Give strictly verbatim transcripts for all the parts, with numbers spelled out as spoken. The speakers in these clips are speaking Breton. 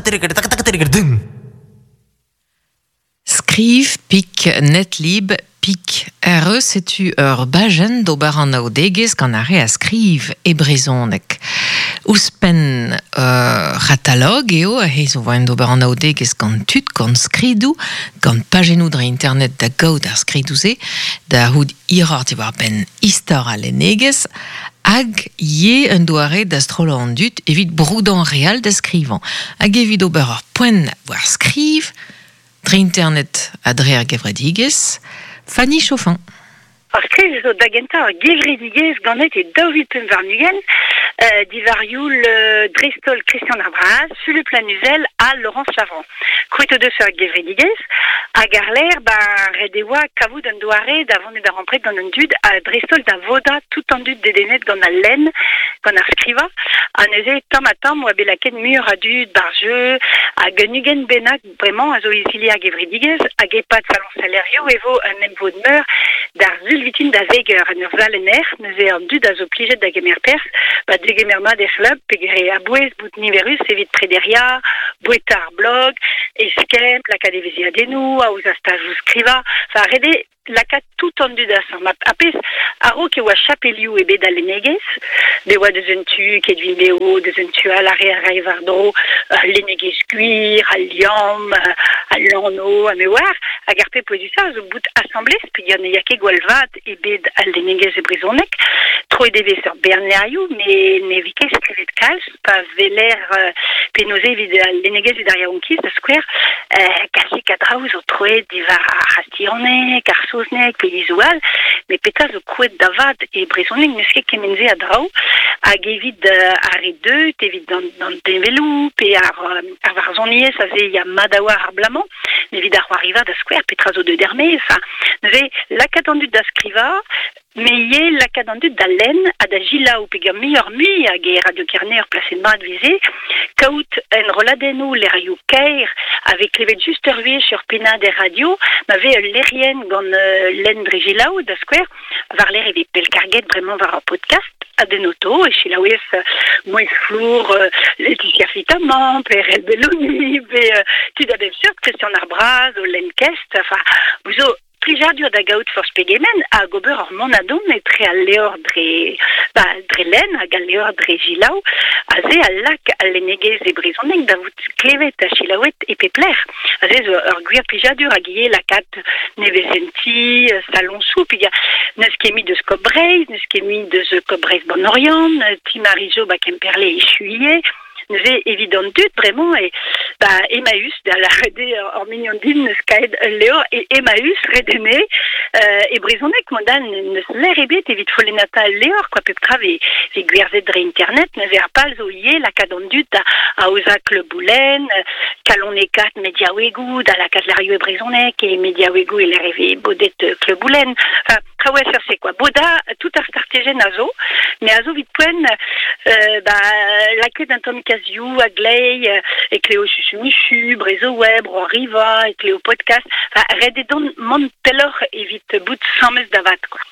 Taka taka taka taka. Skriv pik netlib pik R E setu ur bajenn d'ober an aodegezh gant ar re a skriv e brezhoneg. Ouzhpenn uh, c'hatalog eo he zo voen d'ober an aodegezh gant tud, gant skridoù, gant pajennoù dre internet da gaout ar skridoù-se, da c'hout hiroc'h diwar benn istor al lennegezh, hag ye un doare da strollañ an dud evit broudañ real da skrivañ. Hag evit ober ur poent war skriv, dre internet ha dre ar gevredigezh, Fanny Chauffin. Ar skriv zo da gentañ ar gevredigezh ganet e daou vil pemp warn-ugent, euh, diwar-youl euh, dreist-holl Christian ar Braz, Fulup Lannuzel ha Laurence Lavand. Krouet o deus ar gevredigezh, hag ar lec'h ba ret e oa kavout un doare da vont da rempret gant an dud, ha dreist-holl da vodañ tout an dud dedennet gant al lenn, gant ar skrivañ, ha neuze tamm ha tamm oa bet lakaet muioc'h a dud bar jeu, hag un ugent bennak bremañ a zo izili ar gevredigezh, hag e-pad salon salerioù e vo un emvod meur d'ar sul vintin da zek eur en ur sal en aer, neuze an dud a zo plijet da gemer perzh, ba degemer mat er c'hlub, peogwir a-bouez bout niverus evit prederia, boueta ar blog, eskemm, lakaat evezhiadennoù, aozañ stajoù skrivañ, enfin ret eo lakaat tout an dud asambl. Ha pezh a-raok e oa chapelioù ebet al lennegezh, bet oa deus un tu ket video, deus un tu all ar re a rae war-dro, uh, lennegezh gwir, al liamm, uh, al lanv, ha me oar, hag ar pep pouezusañ a zo bout asambles, peogwir ne ya ket gwall vat ebet al lennegezh e brezhoneg, troet e vez ur bern levrioù, met ne vez ket skrivet kalz, pa weler uh, penaos evit al lennegezh evit ar yaouankiz, da skouer, uh, kalzik a draoù zo troet diwar ar c'hastilhaneg, ar saozneg, pe yezhoù all, met petra zo krouet da vat e brezhoneg n'eus ket kement-se a draoù, hag evit uh, ar re deut, evit an, an develoù, pe ar, uh, ar varzhoniezh aze ya mat a oa ar blamañ, met evit ar c'hoariva da skouer, petra zo deut er-maez, enfin, neuze lakaat an dud da skrivañ, met ivez lakaat an dud da lenn ha da selaou peogwir muioc'h mui hag e Radio Kerne ur plasenn mat veze, kaout enrolladennoù levrioù kaer a vez klevet just ur wech ur pennad er radio, ma vez ul lec'hienn gant uh, lenn dre selaou da skouer, war lec'h e vez pellkarget bremañ war ur podcast, ha d'un auto, e selaouez uh, mouezh flour uh, Laetitia Fitamant, pe Erell Belloni, pe uh, tud a bep seurt, Christian ar Braz, o lenn kest, enfin, zo plijadur da gaout forzh pegement hag ober ur mont a-dont etre al levr dre, ba, dre lenn hag al levr dre selaou, aze a lak al lennegezh e brezhoneg da vout klevet ha selaouet e pep lec'h. Aze zo ur gwir plijadur hag ivez lakaat nevezenti, saloñsoù, peogwir n'eus ket mui deus Coop Breizh, n'eus ket mui deus Coop Breizh ban Oriant, Ti Marijo ba Kemperle echuie, neuze evit an dud bremañ e ba Emmaüs da lâret eo ur mignon din neus kaet ul levr e Emmaüs redene euh, e brezhoneg mod-all n'eus lec'h ebet evit folennata al levr quoi pep tra vez vez gwerzhet dre internet neuze ar pal zo ivez lakaat an dud da aozañ kleuboù-lenn, kalonekat mediaouegoù, da lakaat levrioù e brezhoneg e mediaouegoù e lec'h e vez bodet kleuboù-lenn. Enfin, traoù a seurt quoi. Boda tout ar startijenn a zo, met a zo evit poent euh, ba, lakaet un tamm kazioù a glei, e kleo Chuchumichu, Brezo Web, Riva, e kleo podcast, enfin, ret eo dont mont pelloc'h evit bout samez da vat, quoi.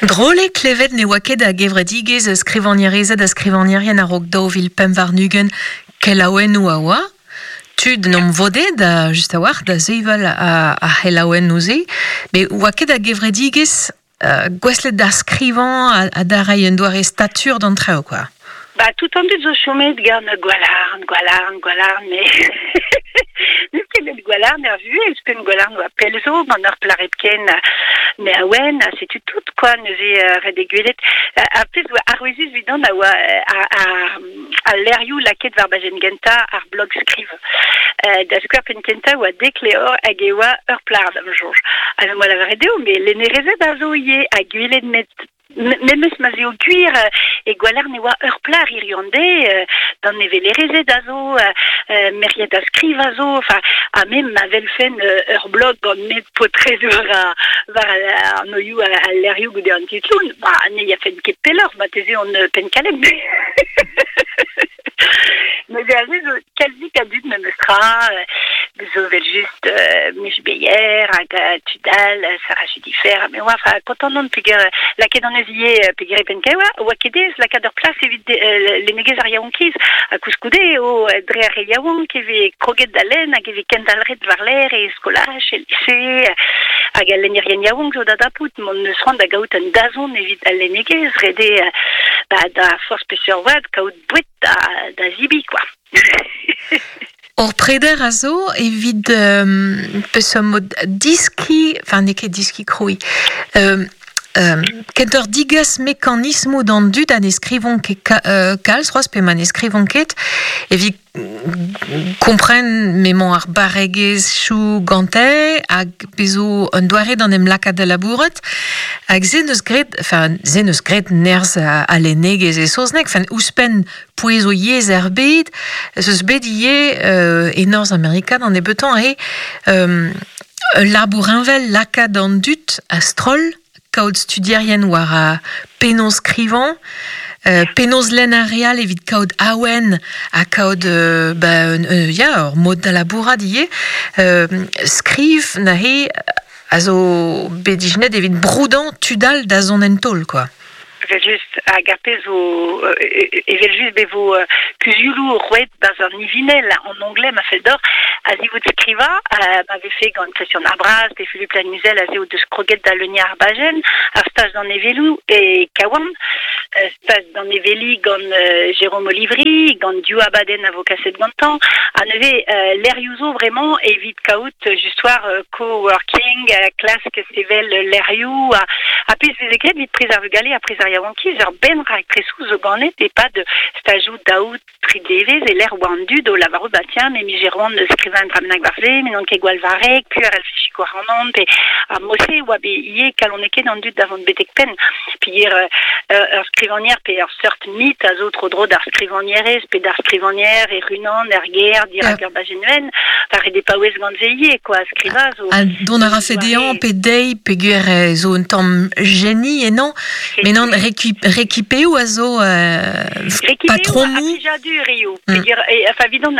Drol eo klevet ne oa ket a gevredigezh skrivagnerezed ha skrivagnerien a-raok daou vil pemp warn-ugent kelaouennoù a oa. Tud n'om vode da just a-walc'h da sevel a, a c'helaouennoù-se, met oa ket a gevredigezh euh, gouestlet da skrivañ ha, ha da reiñ un doare statur d'an traoù, quoi. Ba, tout an dud zo chomet gant Gwalarn, Gwalarn, Gwalarn, mais n'eus ket bet Gwalarn er vuhez, ouzhpenn Gwalarn oa pell zo, gant ur plac'h hepken me a oen, ha setu tout, quoi, neuze uh, ret eo gwelet. Ar pezh oa arouezus evidon a oa a, a, a levrioù lakaet war bajenn gentañ ar blog skriv. Uh, da skouer penn kentañ oa dek levr hag e oa ur plac'h da'm soñj. Ha me 'moa lavaret dezho, met lennerezed a zo ivez ha gwelet met memes ma 'z eo gwir e Gwalarn e oa ur plac'h hiziv an deiz, d'an nevelerezed a zo, merc'hed a skriv a zo, enfin, ha me ma welfen ur blog gant met paotred war war an oioù al levrioù goude an titloù, ba ne yafen ket pelloc'h, marteze on penn-kalet. Neuze aze zo kalzik a dud memes tra, deus zo vel just euh, Mich Beyer hag uh, Tudal, Sarah Judifer, me oa, enfin, kontant on peger lakaet an eus ivez peger e penkaoua, oa ket ez lakaat ur plas evit euh, lennegezh ar yaouankiz, ha koulskoude eo dre ar re yaouank e vez kroget da lenn hag e vez kendalc'het war-lerc'h e skolaj, e lise, hag al lennerien yaouank zo da dapout, mont eus c'hoant da gaout un dazont evit al lennegezh, ret eo ba, da forzh peseurt oad kaout boued da, da zibi, quoi. Ur preder a zo evit euh, peseurt mod diski, enfin n'eo ket diski krouiñ, euh, euh, kentoc'h digas mekanismoù d'an dud ha ne skrivont ket ka, euh, kalz c'hoazh pe ma ne skrivont ket, evit kompren m'emañ ar barregezhioù gante hag bezo un doare d'an em lakaat da labourat hag se neus graet, enfin se neus graet nerzh a, a lennegezh e saozneg, enfin ouzhpenn pouez o yezh er bed, ez eus bet ivez euh, e Norzh Amerika d'an nebeutañ eo euh, ul labour heñvel lakaat an dud a-stroll kaout studierien war a penaos skrivañ, euh, penaos lenn ar re all evit kaout awen ha kaout euh, ba, euh, ya, ur mod da labourat ivez, euh, skriv neuze a zo bet ijinet evit broudañ tud all da zont en taol, quoi. Evel just hag ar pezh zo evel just be vo kuzuloù roet barzh an ivinell an onglet ma fell deoc'h a-zivout skrivañ ma vefe gant Christian ar Braz pe Philippe Lannuzel a zeo deus kroget da leuniañ ar bajenn ar staj d'an eveloù e Kawan, staj d'an eveli gant Jérôme Olivry, gant div abadenn a vo kaset gantañ, ha neuze levrioù zo vraiment evit kaout just war co-working, klask sevel levrioù ha, ha pezh veze graet evit priz ar vugale ha priz ar yaouankiz ur benn raktresoù zo ganet e-pad stajoù daou tri devezh e lec'h oa an dud o lavarout ba tiens me 'mije c'hoant skrivañ un dra bennak war se, me n'on ket gwall varrek, piv a c'hellfe sikour ac'hanon, pe ar mod-se oa bet ivez kalonekaet an dud da vont betek penn. Peogwir ur skrivagner pe ur seurt mit a zo tro-dro d'ar skrivagnerez pe d'ar skrivagner e runan er gêr dirak ur bajenn enfin ret eo paouez gant se ivez, quoi, skrivañ zo... Ha dont a rafe dezhañ pe dezhi peogwir zo un tamm jeni ennañ, met nann rekipeoù a zo euh, patromoù. Plijadur eo. Mm. Enfin, evidon,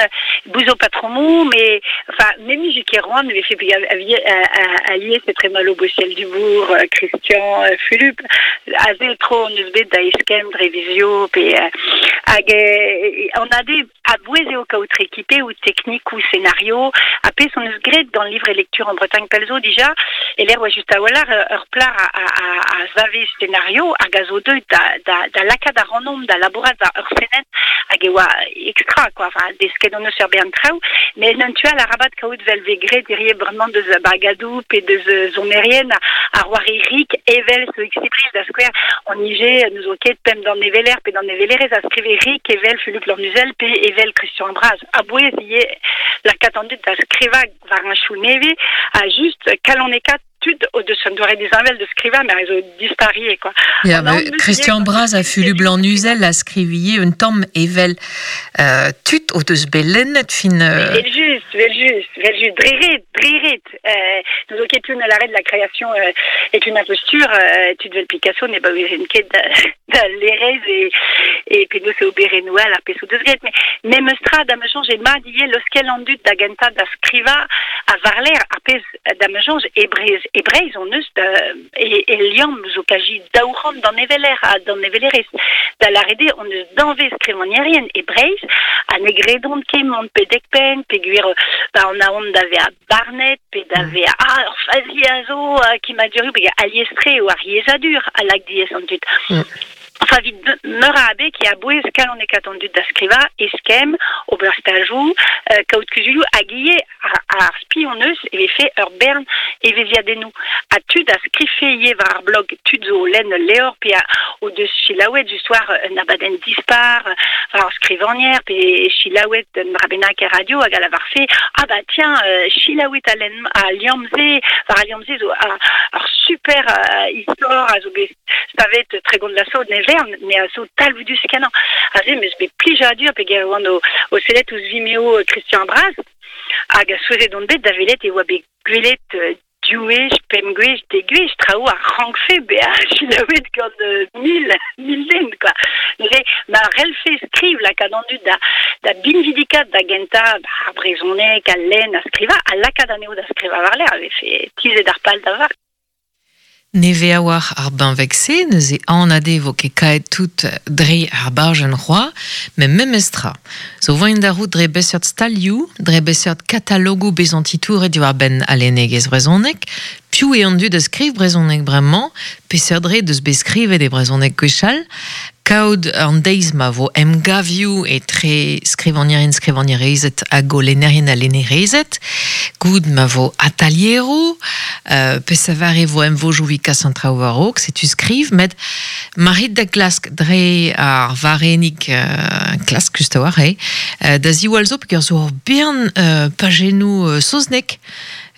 bouzo patromoù, mais enfin, même je ket roan, vefe alies etre Malo Bochel Dubourg, Christian, Philippe, aze tro on eus bet da eskemm dre vizio, pe hag on a de a-bouez eo kaout rekipe ou teknik ou scénario, ha pezh on eus graet gant livre et lecture en Bretagne pell zo dija, e lec'h oa just a-walc'h ur plac'h a, a, a, a zave scénario hag a zo deuet da, da, da lakaat ac'hanomp da labourat war ur senenn hag e oa extra, quoi, enfin, desket on eus ur bern traoù, mais en un tu all arabat kaout vel vez graet hirie bremañ deus bagadoù pe deus sonerien ar war rik evel zo X-Bril da skouer on ije nous o ket pemp d'an eveler pe d'an evelerez a skrive rik evel Philippe Lannuzel pe evel Christian Braz. A-bouez ivez lakaat an dud da skrivañ war un chou nevez a just kalonekaat tud o deus an doare disheñvel de skrivañ, mais zo dispariet, quoi. Ya, mais Christian Braz a Philippe Lannuzel a skrivie un tamm evel euh, tud o deus bet lennet fin... Euh... Vel just, vel just, vel just, dre ret, dre ret. Euh, nous o ket un l'arrêt de la création euh, est une imposture, euh, tud vel Picasso ne baouezen ket da, da lerez e, e penaos eo oberennoù all ar pezh o deus graet. Mais memes tra da ma soñj eo mat ivez leuskel an dud da gentañ da skrivañ a war-lerc'h ar pezh da ma soñj e Breizh, e Breizh on eus da, e, e liamm zo kazi daou c'hant d'an eveler ha d'an evelerez. Da lâret eo on eus danvez skrivagnerien e Breizh ha ne gredont ket mont betek penn peogwir ba on a aon da vezañ barnet pe da vezañ ah, ur fazi a zo kemmadurioù pe alies-tre eo ar yezhadur a lak diaes an dud. Mm. Enfin, evit meur a abeg e a-bouez kalonekaat an dud da skrivañ, eskemm, ober stajoù, euh, kaout kuzulioù hag ivez ar, ar spi hon eus e vefe ur bern evezhiadennoù. Ha tud a skrife ivez war ar blog, tud zo o lenn ul levr pe a, o deus selaouet just war un abadenn dispar, war ur skrivagner pe selaouet un dra bennak er radio hag a lavarfe ah bah tiens, euh, selaouet a lenn a liamm-se, war al liamm-se zo a, ur super euh, istor a zo bet savet Tregont la Saut ne vern, mais a zo talvoudus kenañ. Aze, meus bet plijadur peogwir oan o, o sellet ouzh Vimeo Christian Braz, hag a souezhet on bet da welet e oa bet gwelet euh, diouech, pemp gwech, dek gwech, traoù a rankfe bezañ selaouet gant euh, mil, mil den, quoi. Neuze, ma relfe skriv lakaat an dud da, da binvidikat da gentañ ba, ar brezhoneg, al lenn, a skrivañ, ha lakaat anezho da skrivañ war-lerc'h, a vefe tizhet ar pal da vat. Neve a war ar benveg-se, neuze anade vo ket kaet tout dre ar bajenn c'hoa, met memestra. Zo voint da rout dre beseurt stalioù, dre beseurt katalogoù bezant titouret diwar benn alennegezh brezhoneg, piv eo an dud a skriv brezhoneg bremañ, peseurt dre deus bet skrivet e brezhoneg gwechall, kaout an deiz ma vo emgavioù etre skrivagnerien skrivagnerezed hag o lennerien ha lennerezed, goud ma vo atalieroù, euh, pe savar e vo emvojoù vi kas an traoù war-raok, setu skriv, met ma rit da glask dre ar varenig euh, klask just a-walc'h eo, euh, da ziwall zo peogwir zo ur bern euh, pajennoù euh, saoznek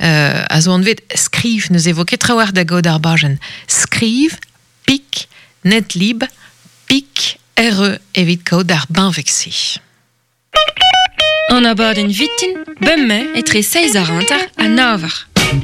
euh, a zo anvet skriv, neuze vo ket trawalc'h da gaout ar bajenn. Skriv, pik, netlib, pik, R E evit kaout ar benveg-se. An abadenn vitin, bemdez etre seizh eur hanter ha nav eur.